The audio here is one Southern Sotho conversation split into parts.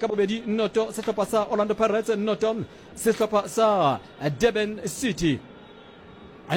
ka bobedi, noto sehlopha sa Orlando Pirates, noto sehlopha sa Durban City.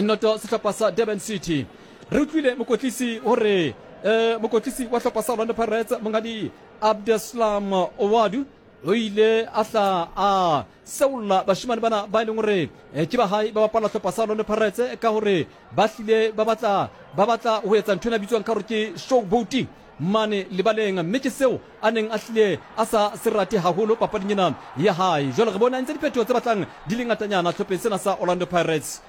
Noto sehlopha sa Durban City. Re utlwile mokotlisi gore eh, mokotlisi wa hlopha sa Orlando Pirates monghadi Abdeslam Ouaddou o ile a hla a seolla bašemane bana ba e leng gore eh, ke ba gae ba bapala hlopha sa Orlando Pirates ka gore ba hlile ba batla ba batla go etsa ntho ena bitswang ka gore ke showboating mane lebaleng, mme ke seo a neng a hlile a sa se rate haholo papading ena ya hae. Jwale re bone a entse diphetoho tse batlang di le ngatanyana hlopheng sena sa Orlando Pirates.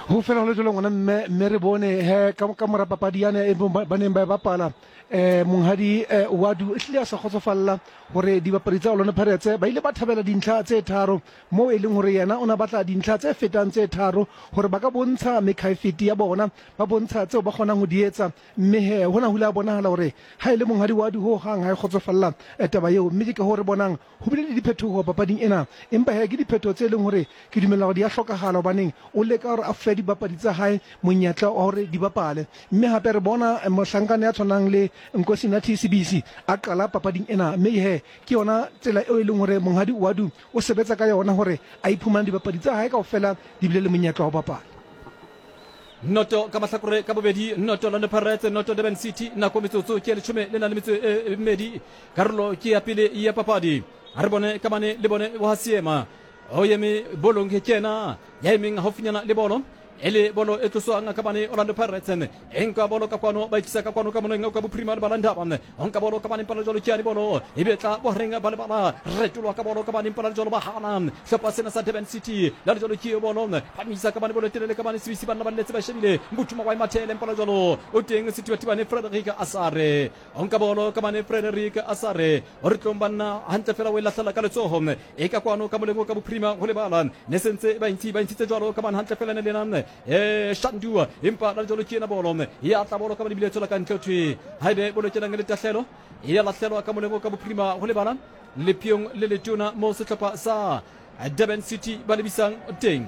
Ho fela ho le jwalo ngwana mme, mme re bone he ka, ka mora papadi yane e ba neng ba e bapala eh monghadi eh, Wadu e hlile a sa kgotsofalla hore dibapadi tsa Orlando Pirates ba ile ba thabela dintlha tse tharo moo e leng hore yena o ne a batla dintlha tse fetang tse tharo hore ba ka bontsha mekhaefete ya bona, ba bontsha tseo ba kgonang ho di etsa. Mme he, hona ho ile ha bonahala hore ha e le Monghadi Wadu ho hang ha e kgotsofalla taba eo. Mme ke kahoo re bonang ho bile le diphetoho papading ena. Empa he, ke diphetoho tse leng hore ke dumela hore di a hlokahala hobaneng o leka hore a fe dibapadi tsa hae monyetla wa hore di bapale. Mme hape re bona mohlankana ya tshwanang le Nkosinathi Sibisi a qala papading ena. Mme he, ke yona tsela eo e leng hore Monghadi Wadu O sebetsa ka yona hore a iphumane dibapadi tsa hae kaofela di bile le monyetla wa ho bapala. Noto ka mahlakore ka bobedi, noto Orlando Pirates, noto Durban City. Nako metsotso ke leshome le na le metso e mmedi. Karolo ke ya pele ya papadi. A re bone ka mane le bone wa seema. O eme bolong ke yena ya emeng haufinyana le bolo. E le bolo e tloswang ka mane Orlando Pirates e nka bolo ka kwano, ba ikisa ka kwano ka moneng ka bophirima lebala ndaba o nka bolo ka mane mpala jalo ke bolo e betla bohareng ba lebala retolwa ka bolo ka mane mpala jalo ba hana hlopha sena sa Durban City la jalo ke bolo phamisa ka mane bolo telele ka mane Sibisi banna ba letse ba shebile Mbuthuma wa mathele mpala jalo o teng Sethibathibane Frederick Asare O nka bolo ka mane Frederick Asare o re tlong banna hantle fela o e lahlela ka letsoho e ka kwano ka moleng o ka bophirima ho lebala ne sentse ba ntsi ba ntshitse jwalo ka mane hantle fela ne lena e Shandua empa la jwalo ke ena bolo ya tla bolo ka mane bile tswela ka ntle thwe haebe bolo kenang le tahlelo ya lahlelwa ka moleng o ka bophirima ho lebala lepheong le letona mo sehlopha sa Durban City ba lebisang teng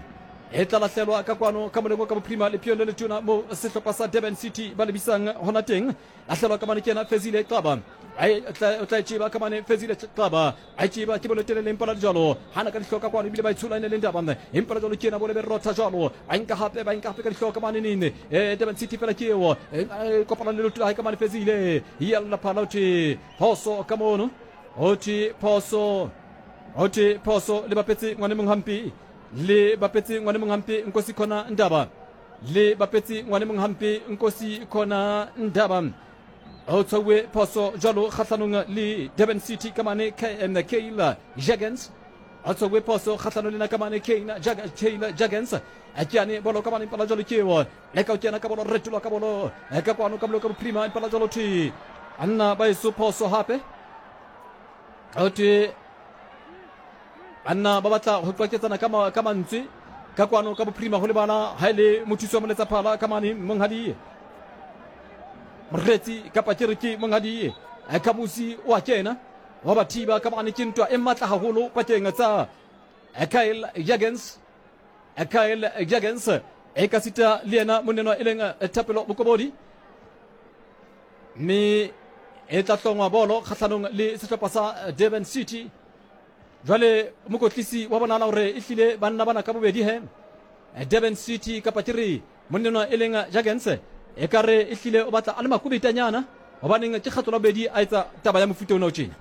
e tla lahlelwa ka kwano ka moleng o ka bophirima lepheong le letona mo sehlopha sa Durban City ba lebisang hona teng. Lahlelwa ka mane ke yena Fezile Xaba. O tla e tšeba ka mane Fezile Xaba. A e tšeba ke bolo telele empa la jalo. Hana ka dihloka kwano ebile ba e tshola ene le ndaba. Empa la jalo ke yena bolo be rotha jalo. Ba nka hape ba nka hape ka dihloka mane nene. Eh Durban City fela ke eo. Eh kopana le leoto la hae ka mane Fezile. Yalla phala thwe phoso ka mono. Ho thwe phoso. Ho thwe phoso le bapetse ngwane mong hampe. Le bapetse ngwane mong hampe Nkosi khona Ndaba. Le bapetse ngwane mong hampe Nkosi khona Ndaba. O tshwauwe phoso jwalo kgahlanong le Durban City ka mane Kyle Jurgens. O tshwauwe phoso kgahlanong le na ka mane Kyle Jurgens. Ke yane bolo ka mane mpala jwalo ke eo. Le ka o kena ka bolo retolwa ka bolo ka kwano ka bolo ka bophirima mpala jwalo thwe. Anna ba eso phoso hape. O thwe Banna ba batla go qwaketsana ka, ka mantswe ka kwano ka bophirima go lebala ha e le mothusi wa moletsaphala ka mane monghadi Moretsi kapa ke re ke monghadi Kamusi o a kena wa ba thiba ka mane. Ke ntwa e matla haholo pakeng tsa Kyle Jurgens, Kyle Jurgens e ka sita le yena monnenwa e leng Thapelo Mokobodi, mme e tla hlongwa bolo kgahlanong le sehlopha sa Durban City. Jwale mokotlisi wa bonala gore e hlile banna bana ka bobedi he Durban City kapa ke re monnenwa e leng Jurgens e ka re e hlile o batla a le makubetanyana gobaneng ke kgatlo la bobedi a etsa taba ya mofuta ona o tjena.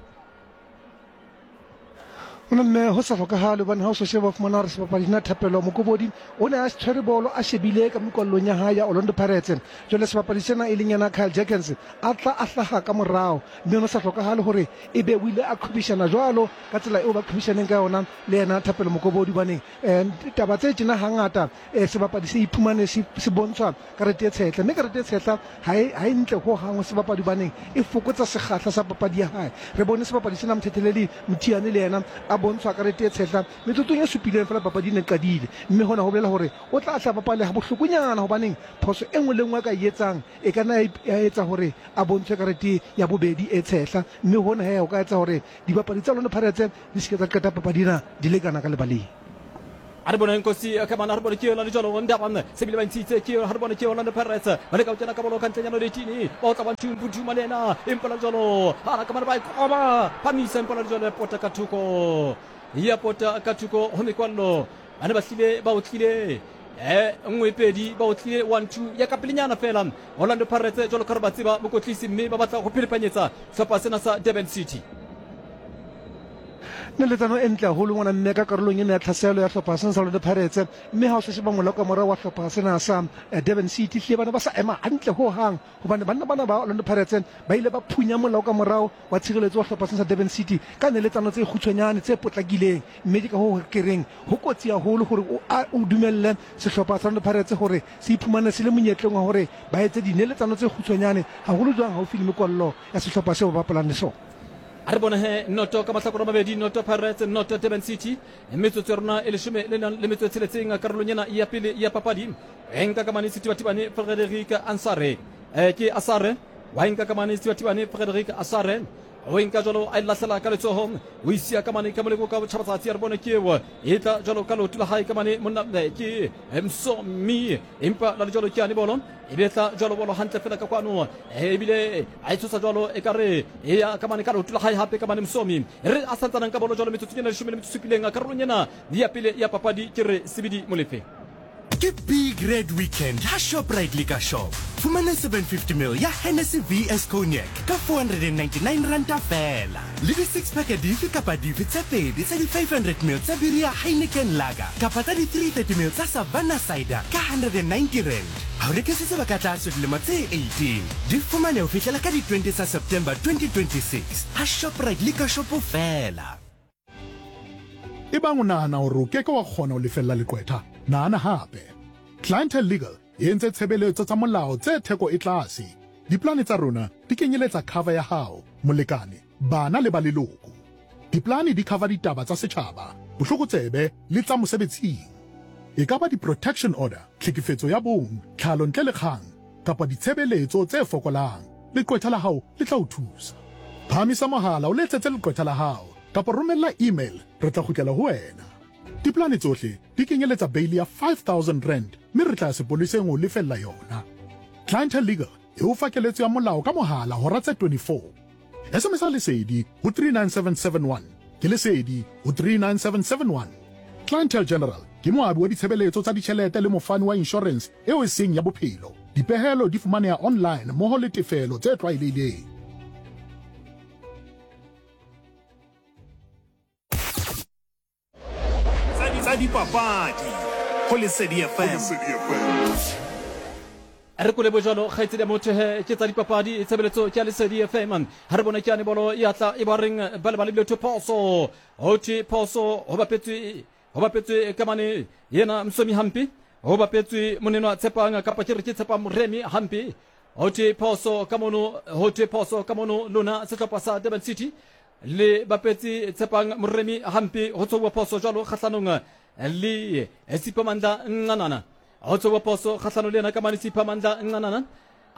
Ona mme ho sa hlokahale hobane ha o so sheba o fumana hore sebapadi sena Thapelo Mokobodi o ne a tshwere bolo a shebile ka mekwallong ya hae ya Orlando Pirates. Jwale sebapadi sena e leng yena Kyle Jurgens a tla a hlaha ka morao mme ho sa hlokahale hore ebe o ile a qhwebeshana jwalo ka tsela eo ba qhwebeshaneng ka yona le yena Thapelo Mokobodi hobaneng um taba tse tjena hangata um sebapadi se iphumane se se bontshwa karete e tshehla mme karete e tshehla ha e ha e ntle ho hang ho sebapadi hobaneng e fokotsa sekgahla sa papadi ya hae. Re bone sebapadi sena Mthetheleli Mthiane le yena a bontshwa karete e tshehla metsotsong e supileng feela papadi e ne qadile mme hona ho bolela hore o tla hla bapale ha bohlokonyana hobaneng phoso e nngwe le nngwe a ka e etsang e ka nna ya etsa hore a bontshwe karete ya bobedi e tshehla mme hona he ho ka etsa hore dibapadi tsa Orlando Pirates di se ke tsa qeta papadi ena di lekana ka lebaleng. A re bone Nkosi ka mana, a re bone ke yona le jalo Ndaba se bile ba ntshitse ke yona, a re bone ke Orlando Pirates ba leka go kena ka bolo ka ntlenyana le 18 ba otla 1 2 Mputhuma le yena empa la jalo a ka mana ba ikoba phamisa empa la jalo ya pota ka thoko, ya pota ka thoko ho mekwallo. Ba ne ba hlile ba otlile 1 2 ba otlile 1 2 ya ka pelenyana fela Orlando Pirates jalo ka re ba tseba mokotlisi mme ba batla go phelepanyetsa sehlopha sena sa Durban City. Neletsano e ntle haholo ngwana mme ka karolong ena ya tlhaselo ya hlopha sena sa Orlando Pirates, mme ha o sa sheba mola ka morao wa hlopha sena sa Durban City, hlile bana ba sa ema hantle ho hang, hobane banna bana ba Orlando Pirates ba ile ba phunya molao ka morao wa tshireletso wa hlopha sena sa Durban City ka neletsano tse kgutshwanyane tse potlakileng, mme ke ka hoo ke reng ho kotsi haholo hore o dumelle sehlopha sa Orlando Pirates hore se iphumane se le monyetleng wa hore ba etse dineletsano tse kgutshwanyane haholo jwang haufi le mekwallo ya sehlopha seo ba bapalang le sona. A re bone he noto ka mahlakore a mabedi, noto Pirates, noto Durban City. Metsotso ya rona e leshome le nang le metso e tsheletseng karolong ena ya pele ya papadi. E nka ka mane Sethibathibane Frederic Ansare. Ke Asare wa e nka ka mane Sethibathibane Frederic Asare. O e nka jalo a e lahlela ka letsoho, o isia ka mane ka moleko ka botjhabatsatsi. A re bone ke eo e tla jalo ka leoto la hae ka mane monna ke Msomi, empa la le jalo ke ane bolo e be tla jalo bolo hantle fela ka kwano, ebile a e tshosa jalo e ka re e ya ka mane ka leoto la hae hape ka mane Msomi. Re a santsanang ka bolo jalo metsotsong ena 17 karolong ena ya pele ya papadi. Ke re Sebidi Molefe. Ke Big Red Weekend ha Shoprite Liquor Shop. Fumana 750 ml ya Hennessy VS Cognac ka 499 ranta feela. Le di six pack dife kapa dife tse pedi tsa di 500 ml tsa biri ya Heineken Lager kapa tsa di 330 ml tsa Savanna Cider ka 190 rand. Ha o rekisitse ba ka tlase dilemo tse 18. Di fumane ho fihlela ka di 20 tsa September 2026 ha Shoprite Liquor Shop feela. Ebang o nahana hore o ke ke wa kgona ho lefella leqwetha, nahana hape. Clientele Legal e entse tshebeletso tsa molao tse theko e tlase. Diplane tsa rona di kenyeletsa cover ya hao, molekane, bana le ba leloko. Diplane di cover ditaba tsa setjhaba, bohlokotsebe le tsa mosebetsing. E ka ba di-protection order, tlhekefetso ya bong, tlhalo ntle le kgang, kapa ditshebeletso tse fokolang, leqwetha la hao le tla o thusa. Phahamisa mohala o letsetse leqwetha la hao kapa romella email, re tla kgutlela ho wena. Diplane tsohle di kenyeletsa beili ya R5000 mme re tla ya sepoleseng ho o lefella yona. Clientele Legal e o fa keletso ya molao ka mohala hora tse 24. SMS-a Lesedi ho 39771. Ke Lesedi ho 39771. Clientele General ke moabi wa ditshebeletso tsa ditjhelete le mofani wa inshorense eo e seng ya bophelo. Dipehelo di fumaneha online mmoho le tefelo tse tlwaelehileng. Tsa dipapadi go Lesedi FM. Re kole bojalo kgaitsedi ya motho he ke tsa dipapadi tshebeletso ke ya Lesedi FM. Ha re bone ke yane bolo ya tla e ba reng ba le ba lebile thwe phoso, ho thwe phoso ho bapetswe, ho bapetswe ka mane yena Msomi hampe, ho bapetswe monenwa Tshepang kapa ke re ke Tshepang Moremi hampe, ho thwe phoso ka mono, ho thwe phoso ka mono lona sehlopha sa Durban City le bapetse Tshepang Moremi hampe, ho tshwauwa phoso jwalo kgahlanong le Siphamandla Ncanana, ho tshwauwa phoso kgahlanong le yena ka mane Siphamandla Ncanana.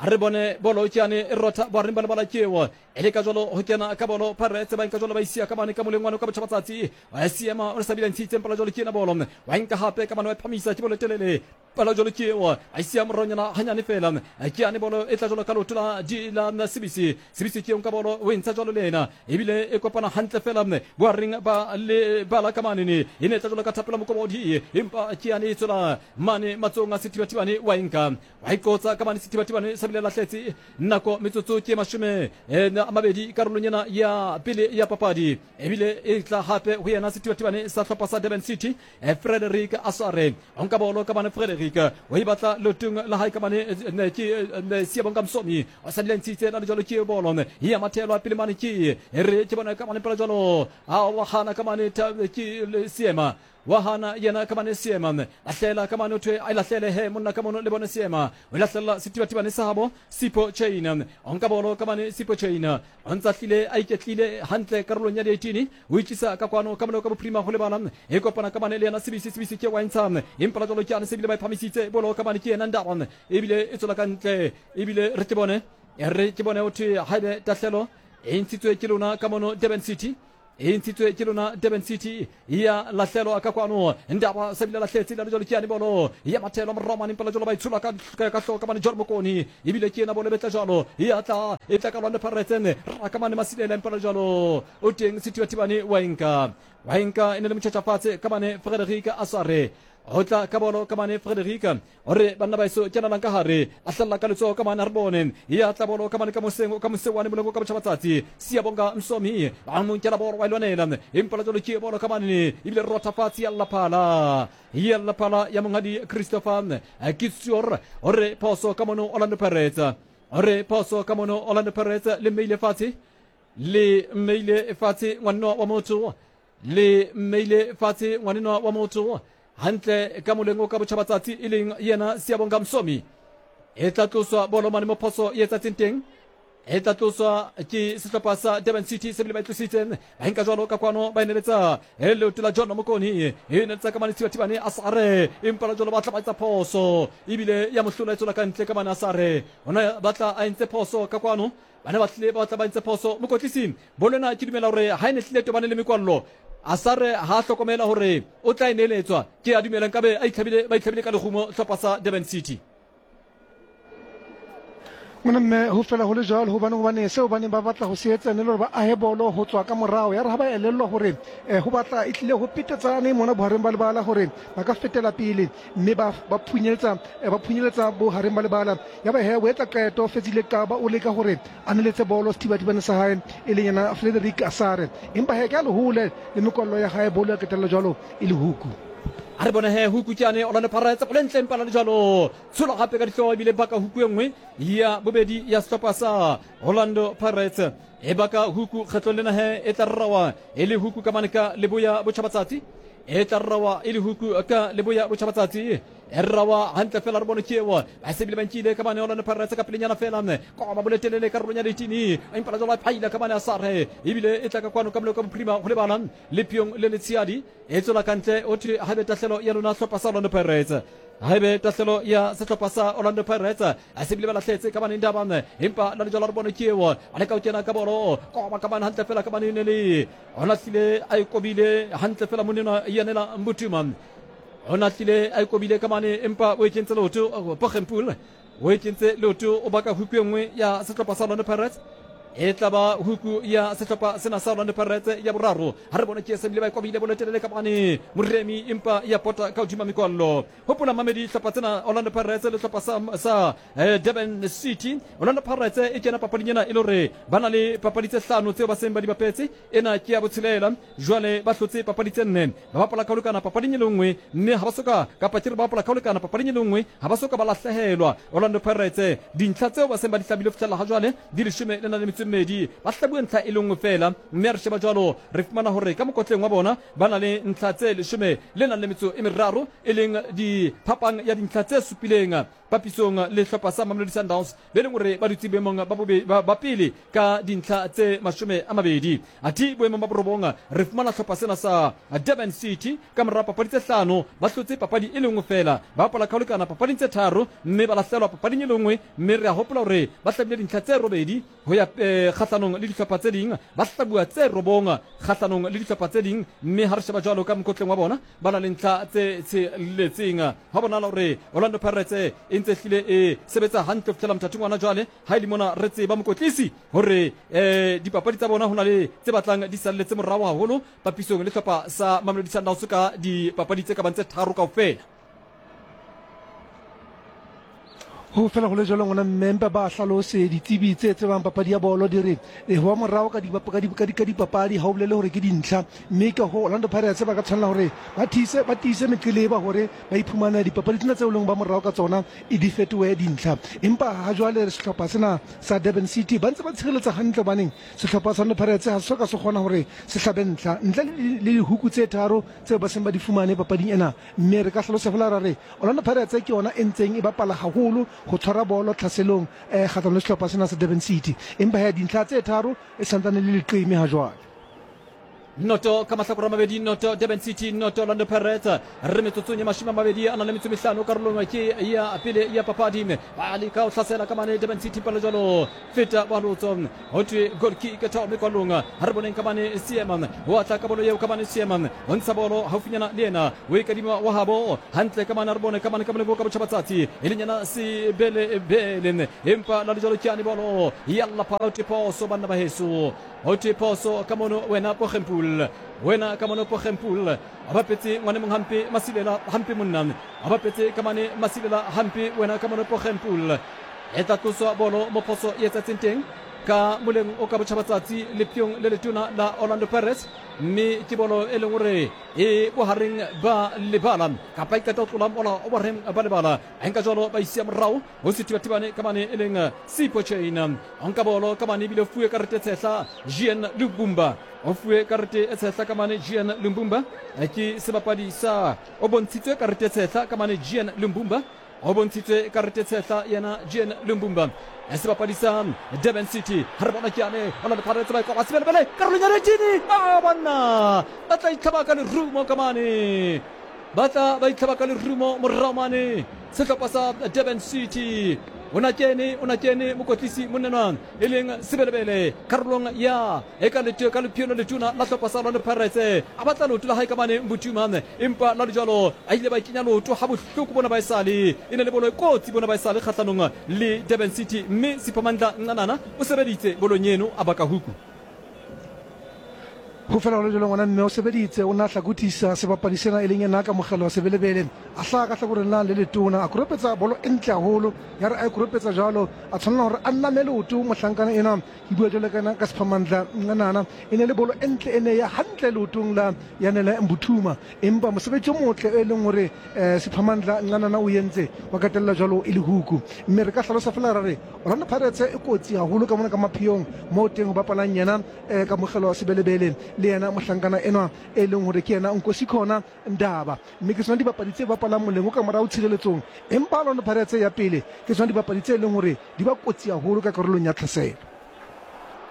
A re bone bolo ke yane e rotha bohareng ba lebala ke eo e le ka jwalo ho kena ka bolo Pirates ba nka jwalo ba isia ka mane ka moleng wane ka botjhabatsatsi wa siema o sa bile ntshitseng pala jwalo ke ena bolo wa nka hape ka mane wa phamisa ke bolo telele pala jwalo ke eo a isia moronyana hanyane fela ke yane bolo e tla jwalo ka leoto la di la Sibisi. Sibisi ke eo nka bolo o e ntsha jwalo le ena ebile e kopana hantle fela bohareng ba lebala ka mane ne e ne e tla jwalo ka thapelo Mokobodi empa ke yane e tswela mane matsohong a Sethibathibane wa e nka wa iqotsa ka mane Sethibathibane sa bile lahletse nako metsotso ke 20 karolong ena ya pele ya papadi ebile e tla hape ho yena Sethibathibane sa hlopha sa Durban City Frederick Asare o nka bolo ka mane Frederick o e batla leotong la hae ka mane ke Siyabonga Msomi o sa dile ntshitse la jwalo ke bolo ya mathelwa pele mane ke re ke bona ka mane pela jwalo a wa hana ka mane ke Seema wa hana yena ka mane Seema lahlela ka mane thwe a lahlele he monna ka mono le bone Seema o lahlela Sethibathibane sa habo Sipho Chain o nka bolo ka mane Sipho Chain o ntsa hlile a iketlile hantle karolong ya di-18 o itlisa ka kwano ka moleo ka bophirima ho lebala e kopana ka mane le yena Sebisi. Sebisi ke wa ntsha empa la jwalo ke ane se bile ba e phamisitse bolo ka mane ke yena Ndaba ebile e tswela ka ntle ebile re ke bone re ke bone ho thwe haebe tahlelo e ntshitswe ke lona ka mono Durban City. E ntshitswe ke lona Durban City ya lahlelwa ka kwano. Ndaba se bile lahletse le jalo ke yane bolo ya mathelo morao mane mpela jalo ba itshola ka ka hloka mane John Mokoni ebile ke yena bolo betla jalo ya tla e tla ka Orlando Pirates raka mane Masilela mpela jalo o teng Sethibathibane wa enka wa enka e ne le motšhatšhafatshe ka mane Frederick Asare go tla ka bolo ka mane Frederick O re, Banna baeso, kenelang ka gare. A hlalla ka letsogo ka mane, a re bone. Ya tla bolo ka mane ka moseng, ka mose wane moleng o ka botšhabatsatsi. Siyabonga Msomi, ba mo nkela bolo, wa e lwanela. Empa la jwalo ke bolo ka mane, ebile rotha fatshe ya lla phala. Ya lla phala ya monghadi Christopher Kitsior. O re, Phoso ka mono Orlando Pirates. O re, Phoso ka mono Orlando Pirates, le mmeile fatshe. Le mmeile fatshe ngwanno wa motho. Le mmeile fatshe ngwanenwa wa motho hantle ka moleng o ka botjhabatsatsi e leng yena Siyabonga Msomi. E tla tloswa bolo mane mo phoso e etsatseng teng. E tla tloswa ke sehlopha sa Durban City se bile ba e tlositse. Ba enka jwalo ka kwano ba eneletsa e leoto la John Mokoni. E neletsa ka mane Thibathibane a sare empa la jwalo ba tla ba etsa phoso ebile ya mohlola e tswela ka ntle ka mane a sare. Ona ba tla a entse phoso ka kwano. Ba ne ba tlile ba tla ba entse phoso. Mokotlisi bolo ena ke dumela gore ha e ne tlile tobane le mekwallo a sa re ha a hlokomela gore o tla e neeletswa. Ke a dumela nkabe a itlhabile ba itlhabile ka lehumo hlopha sa Durban City. Mona mme ho fela ho le jwalo hobane hobane seo ba neng ba batla ho se etsa ne le hore ba ahe bolo ho tswa ka morao. Ya re ha ba elellwa hore eh, ho batla e tlile ho petetsane mona bohareng ba lebala hore ba ka fetela pele mme ba ba phunyeletsa eh, ba phunyeletsa bohareng ba lebala. Ya ba he o etsa qeto Fezile Qaba o leka hore a neletse bolo sethibathibane sa hae e leng yena Frederick Asare, empa he ke a lehole le mekwallo ya hae bolo ya qetella jwalo e le huku. A re bone he huku ke yane Orlando Pirates bolo e ntle empa la le jwalo tshola gape ka dihlogo ebile baka huku e nngwe ya bobedi ya sehlopha sa Orlando Pirates e baka huku kgetlong lena he e tla rrawa e le huku ka mane ka leboya botjhabatsatsi e tla rrawa e le huku ka leboya botjhabatsatsi e rrawa hantle fela re bone ke eo ba se bile ba nkile ka bane Orlando Pirates ka pelenyana fela koba boletelele karolong ya ditini empa la jwalo a phaila ka bane a sare ebile e tla ka kwano ka moleko ka bophirima go lebala lepheong le letsheadi e tswela ka ntle o thwe haebe tahlelo ya lona hlopha sa Orlando Pirates haebe tahlelo ya sehlopha sa Orlando Pirates a se bile ba lahletse ka bane ndaba empa la lejwalo re bone ke eo a leka ho kena ka bolo koba ka bane hantle fela ka bane ne le ona hlile a e kobile hantle fela monena yanela Mbutuma o nahlile a e kobile ka mane empa o e kentse leoto Poggenpoel o e kentse leoto o baka huku e nngwe ya sehlopha sa Orlando Pirates e tla ba huku ya sehlopha sena sa Orlando Pirates ya boraro ha re bone ke se bile ba e kobile bolotelele ka mane Moremi empa ya pota ka hodima mekwallo hopola mamedi hlopha tsena Orlando Pirates le hlopha sa, sa eh, Durban City Orlando Pirates e kena papading ena e le hore ba na le papadi tse hlano tseo ba seng ba di bapetse ena ke ya botshelela Jwale ba hlotse papadi tse nne, ba bapala ka ho lekana papading e le nngwe, mme ha ba so ka, kapa ke re ba bapala ka ho lekana papading e le nngwe, ha ba so ka ba lahlehelwa. Orlando Pirates, dintlha tseo ba seng ba di hlabile ho fihlela ha jwale di leshome le nang le metso e mmedi, ba hlabuwe ntlha e le nngwe feela, mme ha re sheba jwalo re fumana hore ka mokotleng wa bona ba na le ntlha tse leshome le nang le metso e meraro, e leng di phapang ya dintlha tse supileng papisong le hlopha sa Mamelodi Sundowns be leng hore ba dutse boemong ba pele ka dintlha tse 20. Athe boemong ba borobong re fumana hlopha sena sa Durban City ka mora papadi tse hlano ba hlotse papadi e le nngwe feela, ba bapala ka ho lekana papading tse tharo mme ba lahlelwa papading e le nngwe, mme re a hopola hore ba hlabile dintlha tse robedi ho ya kgahlanong le dihlopha tse ding, ba hlabuwa tse robong kgahlanong le dihlopha tse ding, mme ha re sheba jwalo ka mokotleng wa bona ba na le ntlha tse tsheletseng. Hwa bonahala hore Orlando Pirates e ntse hlile e sebetsa hantle ho fihlela mothating wa hona jwale. Ha e le mona re tseba mokotlisi hore um dipapadi tsa bona ho na le tse batlang di salletse morao haholo papisong le hlopha sa Mamelodi Sundowns ka dipapadi tse ka bang tse tharo kaofela. Ho fela go le jalo ngwana mme mpa ba hlalose ditsebi tse tsebang papadi ya bolo di re e ho morao ka ka dipapadi ha o bolele hore ke dintlha, mme ka ho Orlando Pirates ba ka tshwanela hore ba thise ba tiise meqeleba hore ba iphumane dipapadi tsena tseo leng ba morao ka tsona e di fetohe dintlha. Empa ha jwale sehlopha sena sa Durban City ba ntse ba tshireletsa hantle hobaneng sehlopha sa Orlando Pirates ha se soka se kgona hore se hlabe ntlha ntle le dihuku tse tharo tseo ba seng ba di fumane papading ena. Mme re ka hlalosa fela ra re Orlando Pirates ke yona e ntseng e bapala haholo ho tshwara bolo tlhaselong kgahlanong le sehlopha sena sa Durban City. Empa he dintlha tse tharo e santsane le leqeme ha jwale. Noto ka mahlakore a mabedi, noto Durban City, noto Orlando Pirates. Re metsotsong ye 25 a na le metso mehlano karolong ke ya pele ya papadi. Ba leka ho hlasela ka mane Durban City palo jwalo feta balotso. Ho thwe goal kick thome kwalong. Ha re boneng ka mane Seema. Ho atla ka bolo eo ka mane Seema. Ho ntsha bolo haufinyana le yena. O e kadima wa habo hantle ka mane, a re bone ka mane ka moleko ka botjhabatsatsi e leng yena Sebelebele. Empa la le jwalo ke yane bolo ya lla phala, ho thwe phoso banna ba heso. Ho thwe phoso ka mono wena Pogempul. Wena ka mono Pogempul. A bapetse ngwane mong hampe Masilela hampe monna. A bapetse ka mane Masilela hampe wena ka mono Pogempul. E tla tloswa bolo mo phoso e etsatseng teng ka moleng o ka botjhabatsatsi lepyong le letona la Orlando Pirates, mme ke bolo e leng hore e bohareng ba lebala kapa e qeta ho tlola mola o bohareng ba lebala. A nka jwalo ba isia morao ho sethibathibane ka mane e leng Sipho Chain. O nka bolo ka mane ebile o fuwe karete e tshehla Jean Lumbumba. O fuwe karete e tshehla ka mane Jean Lumbumba ke sebapadi sa o bontshitswe karete e tshehla ka mane Jean Lumbumba. O bontshitswe karete e tshehla yena Jean Lumbumba sebapadi sa Durban City. Ha re bona ke yane Orlando Pirates ba e koba Sebelebele karolong ya Regini. A banna ba tla itlhaba ka lerumo ka mane. Ba tla ba itlhaba ka lerumo morao mane sehlopha sa Durban City. O na kene, o na kene mokotlisi monnenwa e leng Sebelebele karolong ya e ka lete ka lephio le letona la hlopha sa Orlando Pirates. A batla leoto la hae ka mane Mbutuma, empa la le jwalo a ile ba kenya leoto ha bohloko bona ba esale. E ne le bolo e kotsi bona ba esale kgahlanong le Durban City, mme Siphamandla Ncanana o sebeditse bolong eno a baka huku. Ho fela ho le jwalo, ngwana mme o sebeditse, o ne a hlakothisa sebapadi sena e leng yena Kamogelo wa Sebelebele. A hlaha ka hlakoreng la le letona, a koropetsa bolo e ntle haholo. Ya re a e koropetsa jwalo, a tshwanela hore a name leoto mohlankana enwa. Ke bua jwalo ka yena ka Siphamandla Ncanana. E ne le bolo e ntle e ne ya hantle leotong la Yanele Mbuthuma. Empa mosebetsi o motle e leng hore Siphamandla Ncanana o entse wa qetella jwalo e le huku. Mme re ka hlalosa fela ra re Orlando Pirates e kotsi haholo ka mona ka mapheyong moo teng ho bapalang yena Kamogelo Sebelebele le yena mohlankana enwa e leng hore ke yena Nkosikhona Ndaba. Mme ke tsona dibapadi tse bapalang moleng o ka morao tshireletsong. Empa Orlando Pirates ya pele ke tsona dibapadi tse leng hore di ba kotsi haholo ka karolong ya tlhaselo.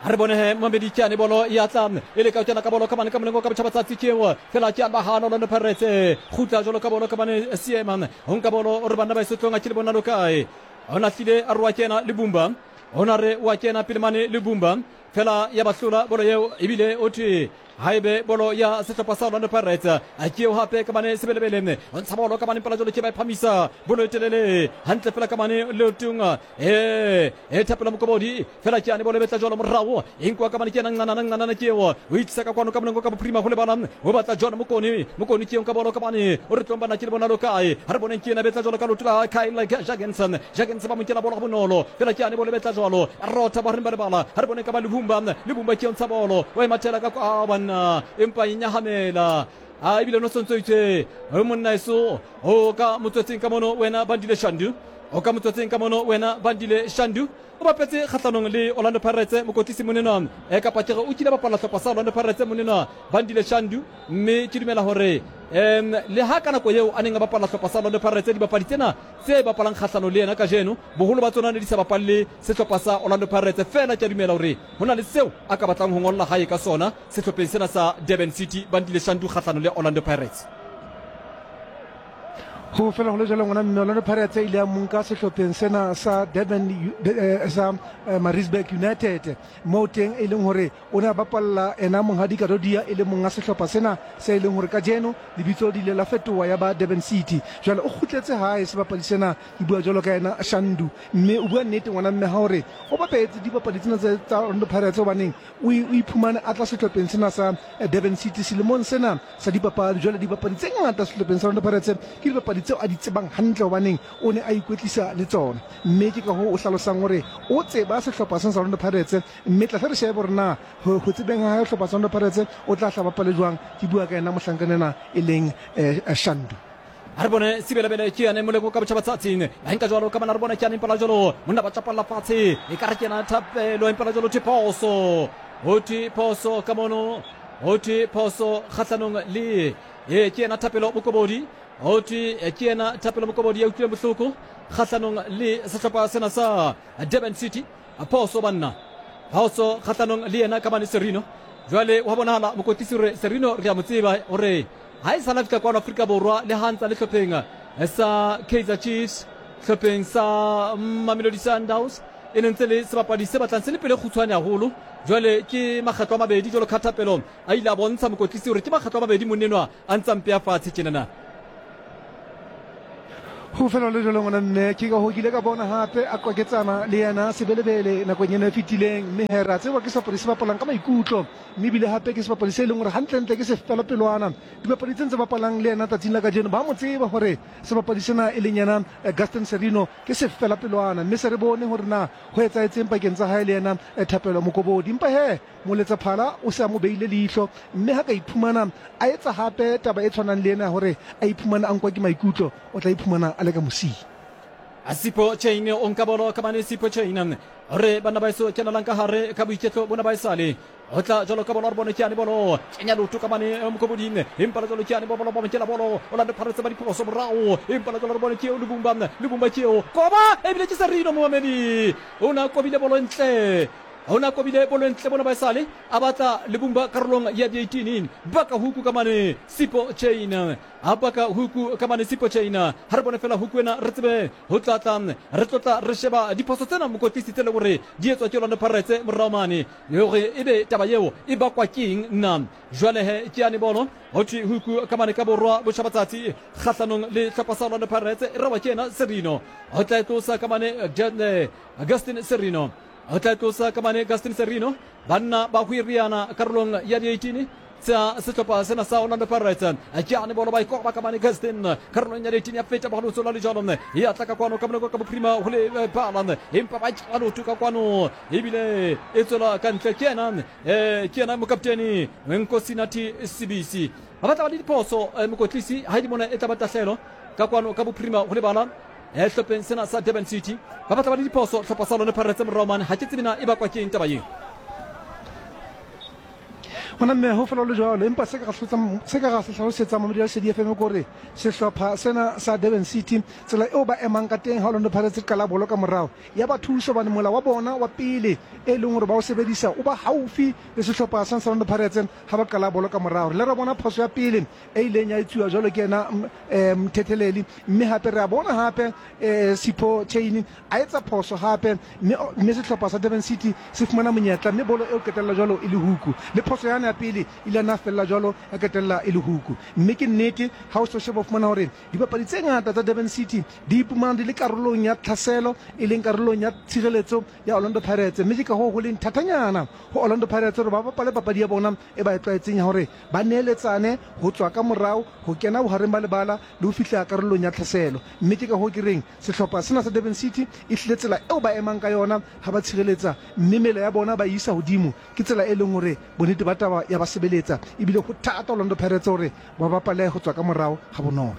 A re bone he Mamedi Kyane bolo ya tla e leka ho kena ka bolo ka mane ka moleng o ka botjhabatsatsi ke eo fela ke ba hana Orlando Pirates kgutla jwalo ka bolo ka mane Seema ho nka bolo o re banna ba isotlong a ke le bona lo kae o na hlile a re wa kena le Bumba o na re wa kena pele mane le Bumba fela ya ba hlola bolo eo ebile o thwe haebe bolo ya sehlopha sa Orlando Pirates a ke eo hape ka mane Sebelebele o ntsha bolo ka mane pela jwalo ke ba e phamisa bolo e telele hantle fela ka mane leotong e e thapela Mokobodi fela ke ane bolo e betla jwalo morao e nkuwa ka mane ke yena Ncanana Ncanana ke eo o itlisa ka kwano ka molengo ka bophirima go lebala o batla John Mokone Mokone ke eo ka bolo ka mane o re tlong bana ke le bona lo kae ha re boneng ke yena betla jwalo ka leoto la Kyle Jackenson Jackenson ba mo nkela bolo ga bonolo fela ke ane bolo e betla jwalo rotha ba reng ba lebala ha re boneng ka ba Lebumba Lebumba ke eo ntsha bolo o e mathela ka kwa banna empa e nyahamela a ebile no sontso itse o monna eso o ka motswetseng ka mono wena Bandile Shandu o ka motswetseng ka mono wena Bandile Shandu o bapetse kgahlanong le Orlando Pirates mokotlisi monenwa e kapa ke re o kile bapala hlopha sa Orlando Pirates monenwa Bandile Shandu mme ke dumela hore um le ha ka nako eo a neng a bapala hlopha sa Orlando Pirates dibapadi tsena tse bapalang kgahlano le yena kajeno boholo ba tsona ne di sa bapalle sehlopha sa Orlando Pirates fela ke a dumela hore ho na le seo a ka batlang ho ngolla hae ka sona sehlopheng sena sa Durban City Bandile Shandu kgahlano le Orlando Pirates. Ho fela ho le jwalo ngwana mme Orlando Pirates e ile ya monka sehlopheng sena sa Durban sa Maritzburg United moo teng e leng hore o ne a bapalla ena monghadi Kadodia e le monga sehlopha sena se e leng hore kajeno lebitso le ile la fetoha ya ba Durban City. Jwale o kgutletse hae sebapadi sena, ke bua jwalo ka yena Shandu, mme o bua nnete ngwana mme ha hore o bapetse dibapadi tsena tsa Orlando Pirates hobaneng o iphumane a tla sehlopheng sena sa Durban City selemong sena sa dipapadi. Jwale dibapadi tse ngata sehlopheng sa Orlando Pirates ke dibapadi tseo a di tsebang hantle hobaneng o ne a ikwetlisa le tsona, mme ke ka hoo o hlalosang hore o tseba sehlopha sena sa Orlando Pirates. Mme tla hle re shebe hore na ho tsebeng ha hae sehlopha sa Orlando Pirates o tla hla bapale jwang. Ke bua ka yena mohlankana ena e leng Shandu. A re bone Sebelebele ke yane moleko ka botjhabatsatsing a nka jwalo ka bana re bone ke yane impela jwalo monna ba tjapalla fatshe e ka re ke yena Thapelo impela jwalo thwe phoso ho thwe phoso ka mono ho thwe phoso kgahlanong le e ke yena Thapelo Mokobodi ho thwe ke yena Thapelo Mokobodi ya utlwileng bohloko kgahlanong le sehlopha sena sa Durban City. Phoso banna, phoso kgahlanong le yena ka mane Serino. Jwale wa bonahala mokotlisi hore Serino re a mo tseba hore ha e sala fihla kwano Afrika Borwa le ha ntsa le hlopheng sa Kaizer Chiefs, hlopheng sa Mamelodi Sundowns e ne ntse le sebapadi se batlang se le pele kgutshwane haholo. Jwale ke makgetlo a mabedi jwalo ka Thapelo a ile a bontsha mokotlisi hore ke makgetlo a mabedi monnenwa a ntsa mpea fatshe tjenana. Ho fela le jalo ngwana mme ke ka ho kile ka bona hape a qwaketsana le yena sebelebele nakong ena e fetileng, mme he re a tseba ke sebapadi se bapalang ka maikutlo, mme ebile hape ke sebapadi se e leng gore gantlentle ke sefelapelwana. Dibapadi tse ntse bapalang le yena tsatsing la kajeno ba mo tseba gore sebapadi sena e leng yena Gaston Serino ke sefelapelwana, mme se re bone gore na go etsaetseng pakeng tsa hae le yena Thapelo Mokobodi. Empa he Moletsaphala o se a mo beile leihlo, mme ha ka iphumana a etsa hape taba e tshwanang le ena ya hore a iphumane a nkwa ke maikutlo, o tla iphumana a le ka mosing. Sipho Chaine o nka bolo ka mane. Sipho Chaine hore banna ba eso kenelang ka hare ka boiketlo bona ba esale ho tla jwalo ka bolo re bone ke yane bolo kenya leoto ka mane mokoboding, empa le jwalo ke yane bolo ba mokela bolo Orlando Pirates ba diphoso morao, empa le jwalo re bone ke eo Lubumba, Lubumba ke eo koba ebile ke Serino momamedi o na kobile bolo ntle. O na kobile bolo ntle bona ba esale a batla Lebumba karolong ya di-18 baka huku ka mane Sipho Chain a baka huku ka mane Sipho Chain. Ha re bone fela huku ena re tsebe ho tlatla re tlotla re sheba diphoso tsena mokotlisi tse leng hore di etswa ke Orlando Pirates morao mane hore ebe taba eo e bakwa keng na. Jwale he ke yane bolo ho thwe huku ka mane ka borwa botjhabatsatsi kgahlanong le hlopha sa Orlando Pirates e rawa ke yena Serino ho tla e tlosa ka mane Augustin Serino. O tla tlosa ka mane Gaston Serino. Banna ba hwiriana karolong ya di-18 tsa sehlopha sena sa Orlando Pirates. Ke ane bolo ba ikoba ka mane Gaston karolong ya di-18 ya feta bohalotso la lejalo ya tla ka kwano ka monoko ka bophirima ho le bala, empa ba tšela leoto ka kwano ebile e tswela ka ntle. Ke yena ke yena mokaptene Nkosinathi Sibisi. Ba batla ba le diphoso mokotlisi ha e di mona e tla ba tahlehelo ka kwano ka bophirima ho lebala Sehlopheng sena sa Durban City ba batla ba le diphoso hlopha sa Orlando Pirates morao mane. Ga ke tsebe na e bakwa ke eng taba ye. Gona mme ho fela le jwalo, empa se ka se ka ga se hlalosetsa mamedi ya Lesedi FM kore sehlopha sena sa Durban City tsela eo ba emang ka teng ha Orlando Pirates qala bolo ka morao ya ba thusa hobane mola wa bona wa pele e leng hore ba o sebedisa o ba haufi le sehlopha sa Orlando Pirates ha ba qala bolo ka morao. Re le ra bona phoso ya pele e ileng ya etsuwa jwalo ke yena Mthetheleli, mme hape re a bona hape Sipho Chaine a etsa phoso hape, mme sehlopha sa Durban City se fumana monyetla, mme bolo eo qetella jwalo e le huku. Le phoso yane ya pele ile ya nna fella jwalo ya qetella e le huku. Mme ke nnete ha o so sheba o fumana hore dibapadi tse ngata tsa Durban City di ipumana di le karolong ya tlhaselo, e leng karolong ya tshireletso ya Orlando Pirates, mme ke ka hoo ho leng thatanyana ho Orlando Pirates hore ba bapale papadi ya bona e ba e tlwaetseng ya hore ba neeletsane ho tswa ka morao ho kena bohareng ba lebala le ho fihla karolong ya tlhaselo. Mme ke ka hoo ke reng sehlopha sena sa Durban City e hlile tsela eo ba emang ka yona ha ba tshireletsa mme mela ya bona ba e isa hodimo ke tsela e leng hore bonnete ba taba ya ba sebeletsa ebile ho thata Orlando Pirates hore ba bapale ho tswa ka morao ha bonolo.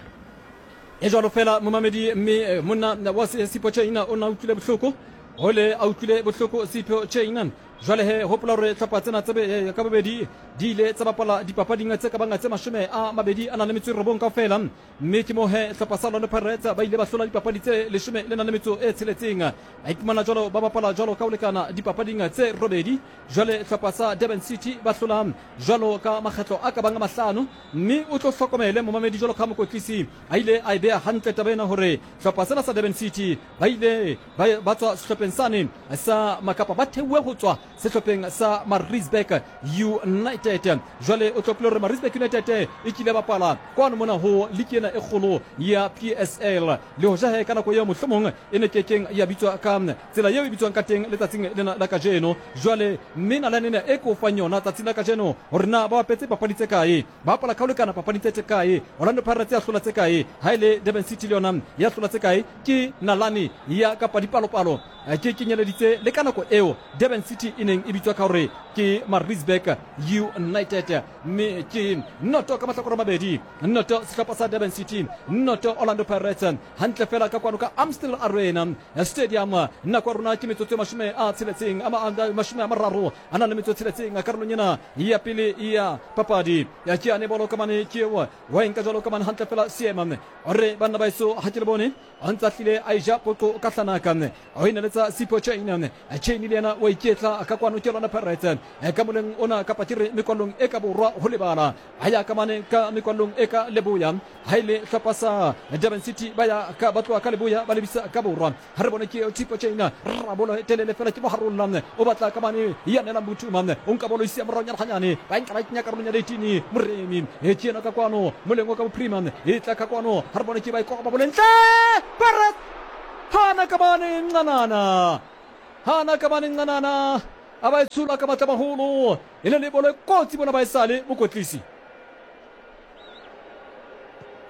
E jwalo fela momamedi, mme monna wa Sipho Chaine o ne a utlwile bohloko hole a utlwile bohloko Sipho Chaine. Jwale he, hopola hore hlopha tsena tse ka bobedi di ile tsa bapala dipapading tse ka bang tse 29 kaofela, mme ke moo he hlopha sa Orlando Pirates ba ile ba hlola dipapadi tse 16. Ba iphumana jwalo ba bapala jwalo ka ho lekana dipapading tse robedi. Jwale hlopha sa Durban City ba hlola jwalo ka makgetlo a ka bang a mahlano, mme o tlo hlokomele momamedi jwalo ka mokotlisi a ile a e beha hantle taba ena hore hlopha sena sa Durban City ba ile ba tswa sehlopheng sane sa Makapa, ba theohe ho tswa sehlopheng sa Maritzburg United. Jwale o tlopile hore Maritzburg United e kile bapala kwano mona ho liki ena e kgolo ya PSL, le hoja he ka nako eo mohlomong e ne kekeng ya bitswa ka tsela eo e bitswang ka teng letsatsing lena la kajeno. Jwale mme nalane ena e ke o fang yona tsatsing la kajeno hore na ba bapetse papadi tse kae, ba bapala ka ho lekana papadi tse kae, Orlando Pirates ya hlola tse kae, ha e le Durban City le yona ya hlola tse kae, ke nalane ya kapa dipalopalo ke kenyeleditse le ka nako eo Durban City e neng e bitswa ka hore ke Maritzburg United. Mme ke noto ka mahlakore a mabedi, noto sehlopha sa Durban City, noto Orlando Pirates, hantle fela ka kwano ka Amstel Arena Stadium. Nako ya rona ke metsotso e 60, 36 karolong ena ya pele ya papadi. Ke yane bolo ka mane, ke eo wa enka jwalo ka mane hantle fela seema ore banna ba eso ha ke le bone a ntse a hlile a eja poqo ka hlanaka o e neletsa Sipho Chaine. Chaine le yena wa iketla ka kwano ke Orlando Pirates. Ka moleng ona kapa ke re mekwallong e ka borwa ho lebala, ba ya ka mane ka mekwallong e ka leboya. Ha e le hlopha sa Durban City ba ya ka ba tloha ka leboya ba lebisa ka borwa. Ha re bone ke eo Tshipo Chain rabolo e telele fela ke moharolla o batla ka mane ya nelang Buthuma o nka bolo isia morao nyana ganyane ba nka ba kenya karolong ya 18 Moremi e ke ena ka kwano moleng o ka bophirima e tla ka kwano ha re bone ke ba e koba bolentle Pirates hana ka mane ncanana hana ka mane ncanana a ba e tshola ka matla maholo e le le bolo e kotsi bona ba e sale mokotlisi.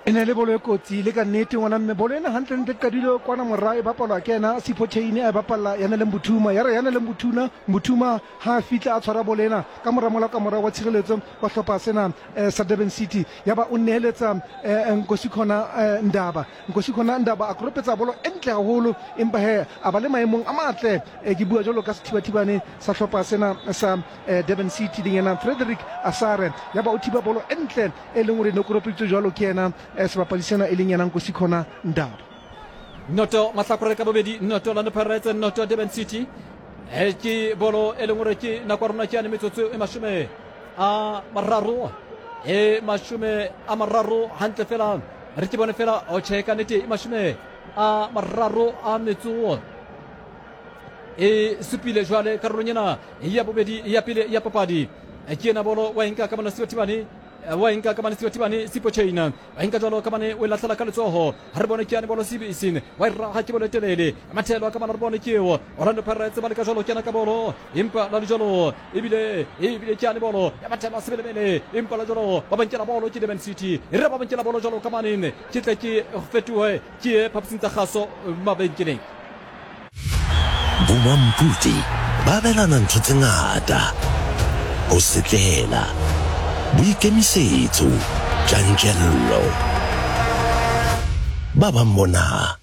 E ne le bolo e kotsi le ka nnete ngwana mme. Bolo ena hantlentle qadile kwana morao e bapalwa ke ena Sipho Chaine a e bapalla Yanele Mbuthuma. Ya re Yanele Mbuthuna Mbuthuma ha a fihla a tshwara bolo ena ka mora mola ka morao wa tshireletso wa hlopha sena eh, sa Durban City. Ya ba o neheletsa eh, Nkosikhona eh, Ndaba. Nkosikhona Ndaba a koropetsa bolo e ntle haholo empa he a ba le maemong a matle. Eh, ke bua jwalo ka sethibathibane sa hlopha sena sa eh, Durban City leng yena Frederick Asare. Ya ba o thiba bolo e ntle e leng hore ne koropeditswe jwalo ke yena eh, sebapadi sena e leng yena Nkosikhona Ndaba. Noto mahlakore ka bobedi, noto Orlando Pirates, noto Durban City. E ke bolo e leng hore ke nako ya rona ke yane metsotso e 30, e 30 hantle fela re ke bone fela o tjhe ka nete e 37 e supile jwale karolong ena ya bobedi ya pele ya papadi. Ke ena bolo wa enka ka mona Sibathibane, wa enka ka mane Sibathibane Sipho Chain wa enka jwalo ka mane o e lahlela ka letsoho. Ha re bone ke yane bolo Sibisi wa e raha ke bolo e telele mathelo ka mane re bone ke eo Orlando Pirates ba leka jwalo kena ka bolo empa la le jwalo ebile ebile ke yane bolo ya mathelo a sebelebele empa la jwalo ba bankela bolo ke Durban City e re ba bankela bolo jwalo ka mane ke tle ke fetohe ke ye phaposing tsa kgaso mabenkeleng. Bomampudi ba abelana ntho tse ngata, ho setlela, boikemisetso, tjantjello. Ba bang bona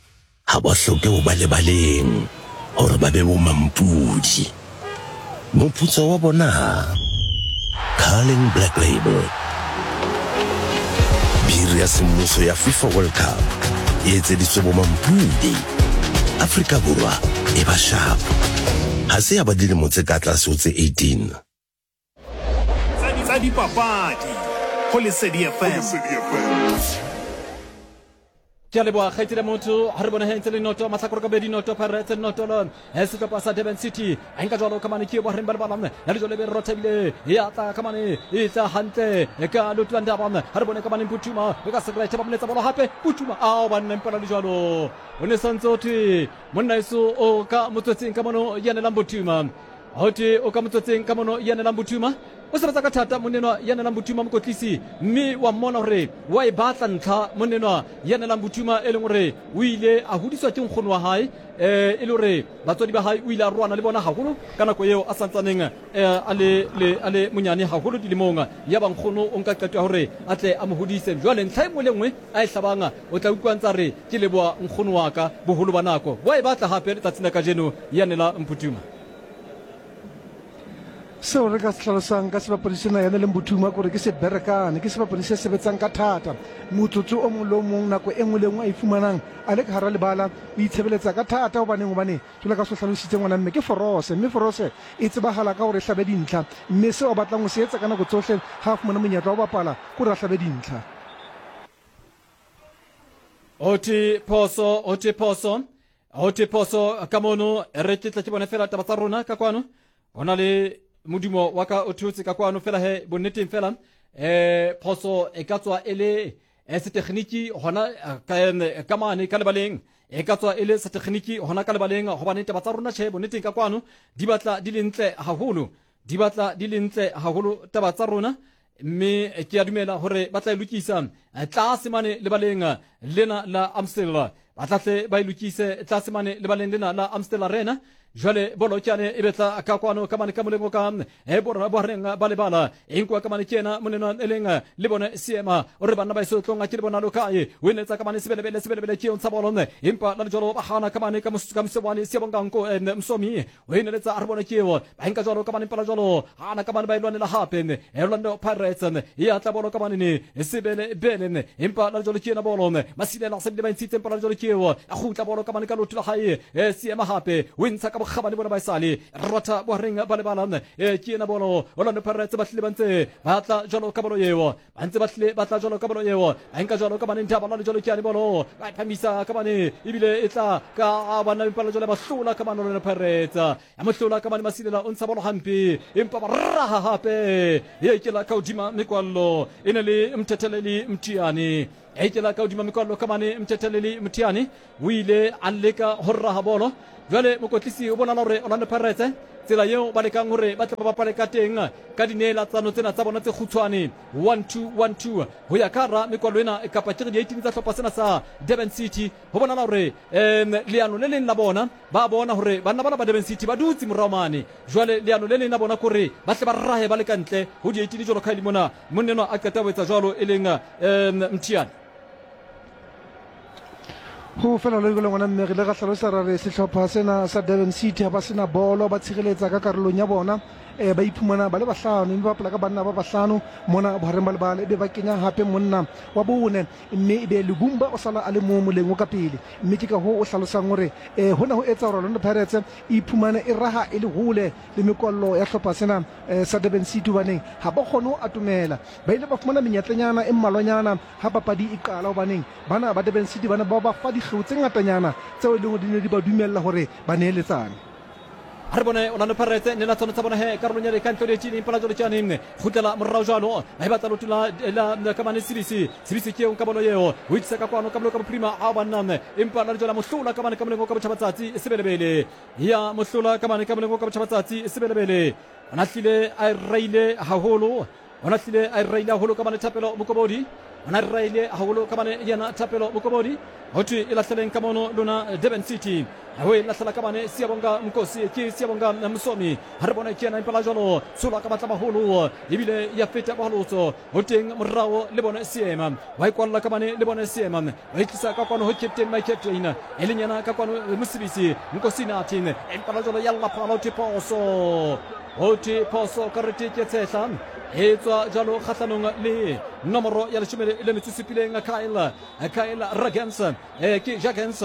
ha ba hloke ho ba lebaleng hore ba be bomampudi. Moputso wa bona? Carling Black Label, biri ya semmuso ya FIFA World Cup e etseditswe bomampudi. Afrika Borwa e ba sharp. Ha se ya ba dilemo tse ka tlase ho tse 18. Tsa dipapadi go Lesedi FM. Ke a leboga kgaitsedi ya motho. Ga re bone he ntse le noto mahlakore ka bobedi, noto Pirates, noto le sehlopha sa Durban City. A nka jwalo ka mane ke bohareng ba lebala ya lejo le be rotha ebile ya tla ka mane e tla hantle ka leoto la Ndaba. Ga re bone ka mane Putuma e ka sekrete ba moletsa bolo hape Putuma ao banna mpela le jwalo o ne santse o thwe monna eso o ka motswetseng ka mono yanelang Putuma. Ho thwe o ka motswetseng ka mono yanelang Putuma. O sebetsa ka thata monnenwa ya nelang Bothuma mokotlisi, mme wa mmona gore wa e batla ntlha monnenwa ya nelang Bothuma e leng gore o ile a hodiswa ke nkgono wa hae eh, e le gore batswadi ba hae o ile a roana le bona haholo ka nako eo a santsaneng eh, a le, le, a le monyane haholo dilemong. Ya ba nkgono o nka qeto ya gore a tle a mo hodise. Jwale ntlha e nngwe le nngwe a e hlabang o tla utlwa ntsa re ke leboha nkgono wa ka boholo ba nako. Wa e batla hape letsatsing la kajeno ya nela Mputhuma. Seo re ka se hlalosang ka sebapadi sena yane leng Bothuma kore ke seberekane, ke sebapadi se sebetsang ka thata. Motsotso o mong le o mong, nako e nngwe le e nngwe a e fumanang a le ka hara lebala, o itshebeletsa ka thata. Hobaneng? Hobane jwalo ka se hlalositse ngwana mme, ke forose, mme forose e tsebahala ka hore e hlabe dintlha. Mme seo a batlang ho se etsa ka nako tsohle ha a fumana monyetla wa ho bapala ke hore a hlabe dintlha. Ho thwe phoso, ho thwe phoso, ho thwe phoso ka mono. Re ke tle ke bone fela taba tsa rona ka kwano. Go na le modumo wa ka o theotse ka kwano fela he bonneteng fela eh phoso e ka tswa e le eh, setekgniki gona eh, ka mane ka lebaleng, e ka tswa e le setekgniki gona ka lebaleng, gobane taba tsa rona tjhe bonneteng ka kwano di batla di le ntle haholo, di batla di le ntle haholo taba tsa rona, mme ke a dumela gore ba tla e lokisa tlase mane lebaleng lena la Amstel, ba tla tle ba e lokise tlase mane lebaleng lena la Amstel Arena. Jwale bolo ke e betla ka kwano ka mane ka moleng o ka e borra bohareng ba lebala e nkuwa ka mane ke ena moneno e leng le bone seema o re banna ba eso tlong a ke le bona lo kae o eletsa ka mane sebelebele sebelebele ke ntsha bolo empa la lejwalo ba gana ka mane ka mosebane Siyabonga Nko Msomi o eneletsa a re bone ke eo ba nka jwalo ka mane mpala jwalo gana ka mane ba e lwanela hape Orlando Pirates e atla bolo ka mane ne sebele bele empa la jwalo ke ena bolo Masilela se bile ba ntshitse empa la jwalo ke eo a kgutla bolo ka mane ka lotho la hae seema hape o ntsha ka bokgabane bona ba esale rotha bohareng ba lebala. E ke ena bolo Orlando Pirates ba hlile ba ntse ba tla jwalo ka bolo eo, ba ntse ba hlile ba tla jwalo ka bolo eo, ba nka jwalo ka bane ntaba la jwalo ke ane bolo ba phamisa ka bane ebile e tla ka bana empa la jwale ba hlola ka bane Orlando Pirates ya mohlola ka bane Masilela o ntsha bolo hampe empa ba raha hape e ke la ka hodima mekwallo e ne le Mthetheleli Mthiane e ke la ka hodima mekwallo ka bane Mthetheleli Mthiane o ile a leka ho raha bolo. Jwale mokotlisi o bonala hore Orlando Pirates tsela eo ba lekang hore ba tle ba bapale ka teng ka dineelatsano tsena tsa bona tse kgutshwane 1-2-1-2 ho ya ka hara mekwallo ena kapa ke re di-18 tsa hlopha sena sa Durban City. Ho bonala hore um leano le leng la bona ba bona hore banna bana ba Durban City ba dutse morao mane. Jwale leano le leng la bona kore ba tle ba rahe ba le ka ntle ho di-18 jwalo ka ha e le mona monna enwa a qeta ho etsa jwalo e leng um Mthiane. Go fela lo le ngwana mme re ile ra hlalosa ra re sehlopha sena sa Durban City ha ba sena bolo ba tshireletsa ka karolong ya bona eh, ba iphumana ba le bahlano mme ba bapala ka banna ba bahlano mona bohareng ba lebala ebe ba kenya hape monna wa bone mme ebe Lubumba o sala a le mong moleng o ka pele mme ke ka hoo o hlalosang hore eh, hona ho etsa hore Orlando Pirates e iphumane e raha e le hole le mekwallo ya hlopha sena eh, sa Durban City hobaneng ha ba kgone ho atomela ba ile ba fumana menyetlenyana e mmalwanyana ha papadi e qala hobaneng bana ba Durban City ba ne ba ba fa dikgeo tse ngatanyana tseo e leng hore di ne di ba dumella hore ba neeletsane. A re bone Orlando Pirates ne la tsona tsa bona he karolong ya ka ntle le tšini empa la jwale tšane kgutlela morao jwalo ba e batla loto la la ka mane Sibisi Sibisi ke eo ka bolo eo o itlisa ka kwano ka bolo ka bophirima a banna empa la jwale mohlola ka mane ka molengo ka botjhabatsatsi sebelebele ya mohlola ka mane ka molengo ka botjhabatsatsi sebelebele o nahlile a e raile haholo O lahlile a e raile haholo ka bane Thapelo Mokobodi. O na raile haholo ka bane yena Thapelo Mokobodi. Ho thwe e lahleleng ka mono lona Durban City. Ho e lahlela ka bane Siyabonga Nkosi ke Siyabonga Msomi. Ha re bone ke yena impela jwalo tsholwa ka matla maholo ebile ya feta bohalotso. Ho teng morao le bone Seema. Wa e kwalla ka bane le bone Seema. Wa e tlisa ka kwano ho captain my captain. E leng yena ka kwano Mosebisi Nkosi Nathi. Impela jwalo ya lla phala ho thwe phoso. Ho thwe phoso karete ke tshehla e tswa jalo kgahlanong le nomoro ya leshome le metso supileng Kyle Kyle Ragens eh, ke Jagens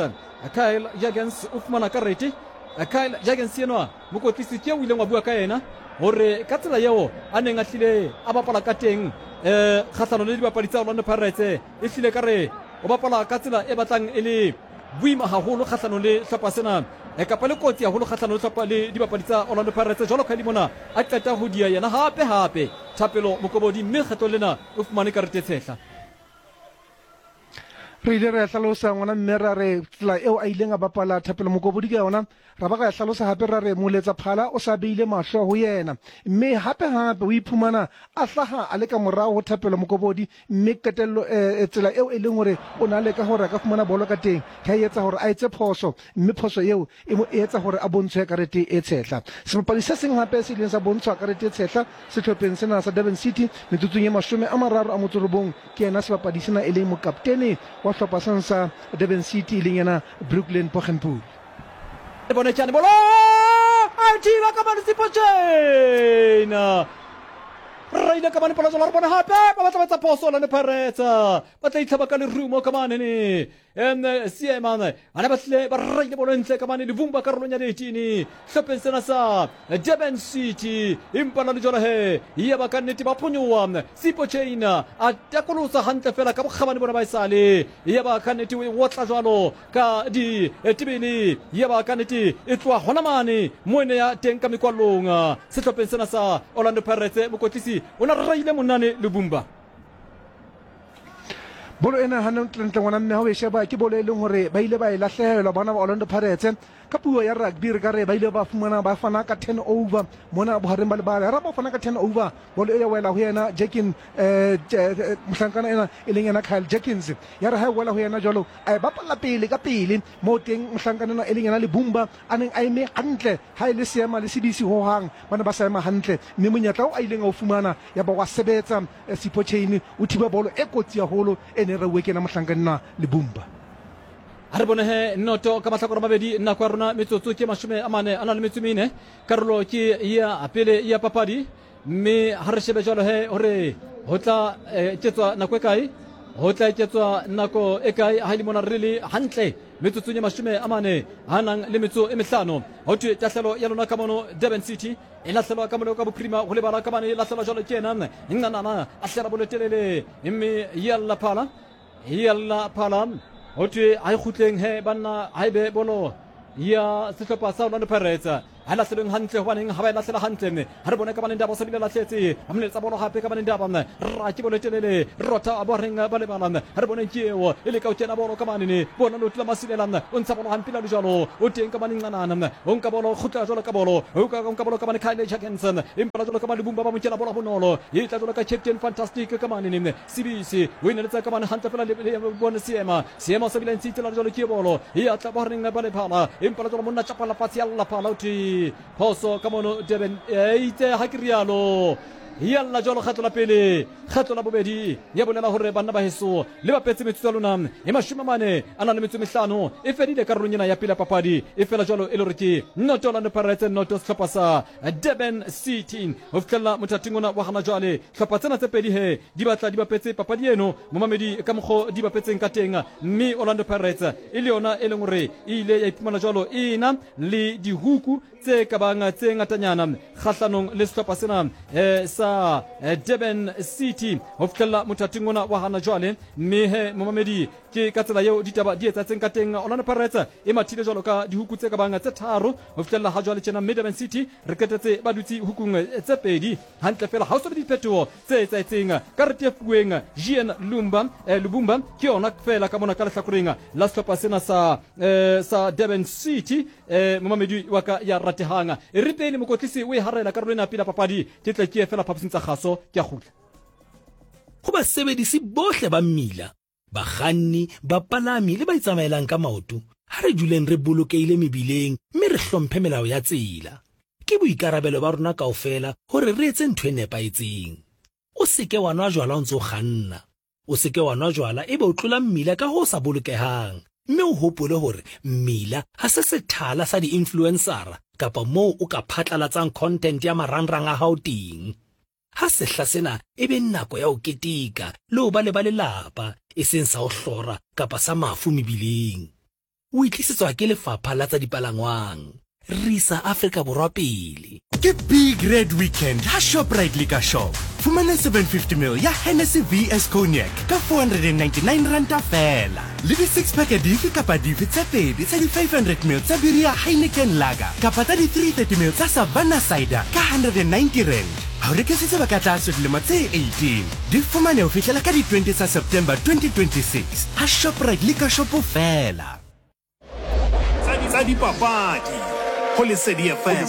Kyle Jagens o fumana karete. Kyle Jagens enwa mokotlisi ke o ileng wa bua ka yena hore ka tsela eo a neng a hlile a bapala ka teng eh kgahlanong le dibapadi tsa Orlando Pirates e hlile ka re o bapala ka tsela e batlang e le boima haholo kgahlanong le hlopha sena e kapa le kotsi haholo kgahlanong le hlopha le dibapadi tsa Orlando Pirates jwalo ka mona a qeta ho dia yena hape hape Thapelo Mokobodi mme kgetlong lena o fumane karete e tshehla. Re ile ra hlalosa ngwana mme ra re tsela eo a ileng a bapala Thapelo Mokobodi ka yona, ra ba ra hlalosa hape ra re moletsa phala o sa beile mahlo ho yena mme hape hape o iphumana a hlaha a le ka morao ho Thapelo Mokobodi mme qetello eh, tsela eo e leng hore o ne a leka hore a ka fumana bolo ka teng ya etsa hore a etse phoso mme phoso eo e mo etsa hore a bontshwe karete e tshehla. Sebapadi se seng hape se ileng sa bontshwa karete e tshehla sehlopheng sena sa Durban City metsotsong e 39 ke yena sebapadi sena e leng mokaptene wa hlopha sena sa Durban City e leng yena Brooklyn Poggenpoel. Le bone tšane bolo a thiba ka mane Sipho Chaine raile ka mane polo jalo re bone hape ba batla ba etsa phoso Orlando Pirates ba tla itlhaba ka lerumo ka mane ne em seema bana ba tlile ba raile bolo ntle ka mane Levumba karolong ya 18 hlopheng sena sa Durban City empa la lejwalo he ya ba ka nnete ba phonyoa Sipho Chaine a takolosa hantle fela ka bokgabane bona ba esale ya ba ka nnete o e otla jwalo ka ditebele ya ba ka nnete e tloha hona mane mo e ne ya teng ka mekwallong sehlopheng sena sa Orlando Pirates mokotlisi o na raile monane Lubumba. Bolo ena hantlentle ngwana mme ha o e sheba ke bolo e leng hore ba ile ba e lahlehelwa bona ba Orlando Pirates. Ka puo ya rugby re ka re ba ile ba fumana ba fana ka turnover mona bohareng ba lebala. Ra ba fana ka turnover, bolo e ya wela ho yena Jekin eh, mohlankana ena e leng yena Kyle Jenkins. Ya re ha e wela ho yena jwalo a e bapalla pele ka pele moo teng mohlankana ena e leng yena Lebumba a neng a eme hantle ha e le seema le sebisi hohang ba ne ba sa ema hantle mme monyetla o a ileng a o fumana ya ba wa sebetsa. Sipho Chaine o thiba bolo e kotsi haholo e neng rauwe ke yena mohlankana Lebumba. A re bone he noto ka mahlakore a mabedi nako ya rona metsotso ke 44 a na le metso mene karolo ke ya pele ya papadi mme ha re shebe jwalo he hore ho tla eketswa nako e kae ho tla eketswa nako e kae ha e le mona re le hantle. Metsotsong ye 44. Go thwe tahlelo ya lona ka mono Durban City e lahlelwa ka mono ka bophirima go lebala ka mane e lahlelwa jalo ke yena Ncanana a hlela bolotelele mme ya lla phala ya lla phala. Go thwe ga e kgutleng he banna ga e be bolo ya sehlopha sa Orlando Pirates. Ga e lahlelweng hantle, gobaneng ga ba e lahlela hantle? Ga re bone ka baneng daba o sa bile lahletse ba moletsa bolo gape ka baneng daba ra ke bolo telele rotha ba reng ba lebala. Ga re boneng ke eo e leka o kena bolo ka manene bona lotla la masilela o ntsha bolo gampe la jalo o teng ka maneng ncanana o nka bolo kgutla jalo ka bolo o ka nka bolo ka mane Kyle Jackensen empa la jalo ka mane Bumba ba mo kena bolo bonolo e tla jalo ka Captain Fantastic ka manene Sibisi o ineletsa ka mane hantle fela le bone seema seema sa bile ntse itela jalo ke bolo e atla ba reng ba lephala empa la jalo monna tšapala fatshe ya llaphala o thwe phoso ka mono Durban eitse ha ke rialo ya lla jalo kgetlo la pele kgetlo la bobedi ya bolela gore banna ba heso le bapetse metsotso ya lona e 45 e fedile karolong ena ya pele ya papadi e fela jalo e le gore ke noto Orlando Pirates noto sehlopha sa Durban City go fihlelela mothating ona wa gana jwale. Hlopha tsena tse pedi he di batla di bapetse papadi eno momamedi ka mokgo di bapetseng ka teng, mme Orlando Pirates e le yona e leng gore e ile ya iphumana jwalo e na le dihuku tse ka bang tse ngatanyana kgahlanong le sehlopha sena sa Durban City go fihlelela mothating ona wa gana jwale. Mme he momamedi ke ka tsela yeo ditaba di etsaetseng ka teng. Orlando Pirates e mathile jwalo ka dihuku tse ka bang tse tharo go fihlelela ga jwale tjena, mme Durban City re qetetse ba dutse hukung tse pedi hantle fela. Ga o so be diphetogo tse etsaetseng. Karete e fuweng Jean Lumba Lubumba ke yona fela ka mona ka lehlakoreng la sehlopha sena sa sa Durban City. Momamedi wa ka ya ratehang, e re pele mokotlisi o e harela karolo ena pele papadi, ke tle ke ye fela phaposing tsa kgaso, ke a kgutla. Go basebedisi bohle ba mmila, bakganni, bapalami le ba itsamaelang ka maoto, ha re duleng re bolokehile mebileng mme re hlomphe melao ya tsela. Ke boikarabelo ba rona kaofela hore re etse ntho e nepahetseng. O se ke wa nwa jwala o ntse o kganna. O se ke wa nwa jwala ebe o tlola mmila ka ho sa bolokehang. Mme o hopole hore mmila ha se sethala sa di-influensara kapa moo o ka phatlalatsang content ya marangrang a hao teng. Ha sehla sena e be nako ya ho keteka le ho ba le ba lelapa, eseng sa ho hlora kapa sa mafu mebileng. O e tlisetswa ke Lefapha la tsa Dipalangwang. Re isa Afrika Borwa pele. Ke Big Red Weekend ha Shoprite Liquor Shop. Fumana 750 ml ya Hennessy VS Cognac ka R499 feela. Le di six pack dife kapa dife tse pedi tsa di 500 ml tsa biri ya Heineken Lager kapa tsa di 330 ml tsa Savanna Cider ka R190. Ha o rekisitse ba ka tlase dilemo tse 18. Di fumane ho fihlela ka di 20 tsa September 2026 ha Shoprite Liquor Shop feela. Tsa dipapadi go Lesedi FM.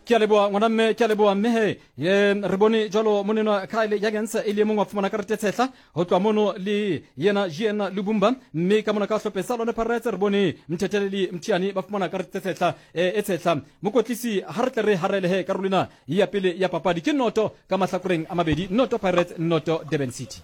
Ke a leboa ngwana mme, ke a leboa mme he. Ye, re bone jalo monenwa Kyle Jurgens e le mongwe wa fumana karete tshehla go tloa mono le yena Jean Lubumba, mme ka mona ka hlophe sa Orlando Pirates re bone Mthetheleli Mthiane ba fumana karete tshehla e tshehla. Mokotlisi ha re tle re harele he karolo ena ya pele ya papadi ke noto ka mahlakoreng a mabedi, noto Pirates noto Durban City.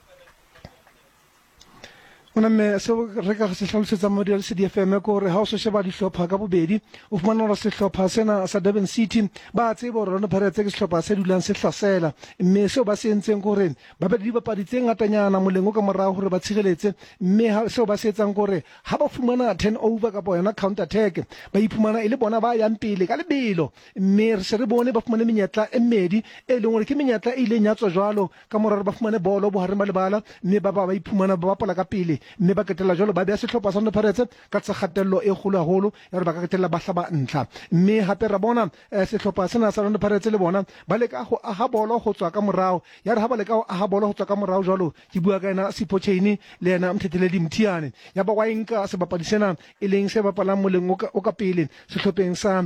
Gona mme seo re ka se hlalosetsa modi wa Lesedi FM ke gore ha o se sheba dihlopha ka bobedi o fumana gore sehlopha sena sa Durban City ba tseba gore Orlando Pirates ke sehlopha se dulang se hlasela, mme seo ba se entseng ke gore ba be le dibapadi tse ngatanyana moleng o ka morago gore ba tshireletse, mme seo ba se etsang ke gore ha ba fumana turnover kapa yona counter attack ba iphumana e le bona ba yang pele ka lebelo, mme re se re bone ba fumane menyetla e mmedi e leng gore ke menyetla e ileng ya tswa jwalo Ka mora gore ba fumane bolo bohareng ba lebala mme ba ba ba iphumana ba bapala ka pele mme ba qetella jwalo ba beha sehlopha sa Orlando Pirates ka tlasa kgatello e kgolo haholo ya gore ba ka qetella ba hlaba ntlha. Mme hape ra bona sehlopha sena sa Orlando Pirates le bona ba leka ho aha bolo ho tswa ka morao. Ya re ha ba leka ho aha bolo ho tswa ka morao jwalo, ke bua ka yena Sipho Chaine le yena Mthetheleli Mthiane, ya ba wa e nka sebapadi sena e leng se bapalang moleng o ka pele sehlopheng sa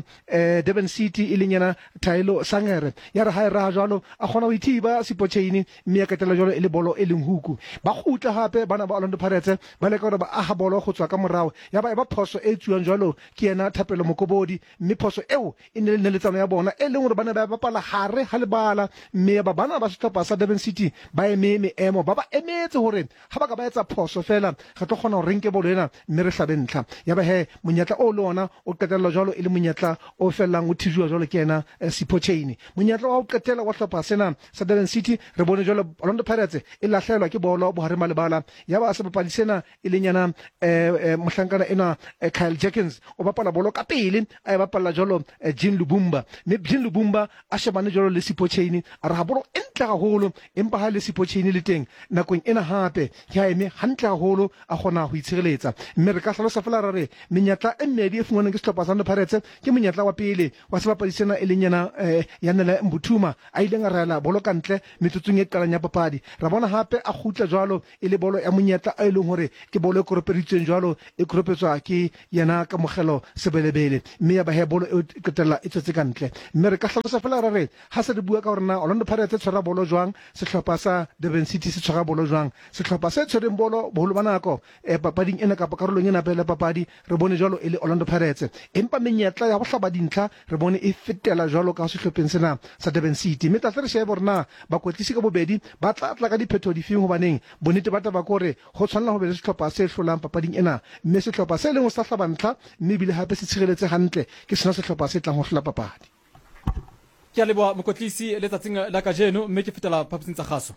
Durban City e leng yena Thaelo Sangere. Ya re ha e raha jwalo, a kgona ho ithiba Sipho Chaine mme ya qetella jwalo e le bolo e leng huku. Ba kgutla hape bana ba Orlando Pirates ba leka hore ba aha bolo go tswa ka morao, ya ba e ba phoso e tsuwang jwalo ke yena Thapelo Mokobodi, mme phoso eo e ne le neletsano ya bona e leng hore ba ne ba bapala hare ha lebala, mme ya ba bana ba sehlopha sa Durban City ba eme meemo ba ba emetse hore ha ba ka ba etsa phoso feela re tlo kgona hore re nke bolo ena mme re hlabe ntlha. Ya ba he monyetla oo le ona o qetella jwalo e le monyetla o fellang o thijuwa jwalo ke yena Sipho Chaine. Monyetla wa ho qetela wa hlopha sena sa Durban City re bone jwalo Orlando Pirates e lahlehelwa ke bolo bohareng ba lebala, ya ba sebapadi se sena e leng yena mohlankana enwa Kyle Jerkins o bapala bolo ka pele a e bapalla jwalo Jean Lubumba, mme Jean Lubumba a shebane jwalo le Sipho Chaine a raha bolo e ntle haholo, empa ha le Sipho Chaine le teng nakong ena hape ke ha eme hantle haholo a kgona ho itshireletsa. Mme re ka hlalosa feela ra re menyetla e mmedi e fumanweng ke sehlopha sa Orlando Pirates ke monyetla wa pele wa sebapadi sena e leng yena Yanele Mbuthuma a ileng a rahela bolo ka ntle metsotsong e qalang ya papadi. Ra bona hape a kgutla jwalo e le bolo ya monyetla e leng hore ke bolo e koropeditsweng jwalo e koropetswa ke yena Kamogelo Sebelebele mme ya ba he bolo eo e qetella e tswetse ka ntle. Mme re ka hlalosa feela ra re ha se re bua ka hore na Orlando Pirates e tshwara bolo jwang, sehlopha sa Durban City se tshwara bolo jwang. Sehlopha se tshwereng bolo boholo ba nako eh, papading ena kapa karolong ena pele papadi re bone jwalo e le Orlando Pirates, empa menyetla ya ho hlaba dintlha re bone e fetela jwalo ka sehlopheng sena sa Durban City. Mme tla tle re shebe hore na bakwetlisi ka bobedi ba tla tla ka diphetho difeng, hobaneng bonnete ba taba ke hore ho tshwanela ho be le sehlopha se hlolang papading ena, mme sehlopha se leng ho sa hlaba ntlha mme ebile hape se tshireletse hantle ke sona sehlopha se tlang ho hlola papadi. Ke a leboha mokwetlisi letsatsing la kajeno, mme ke fetela phaposing tsa kgaso.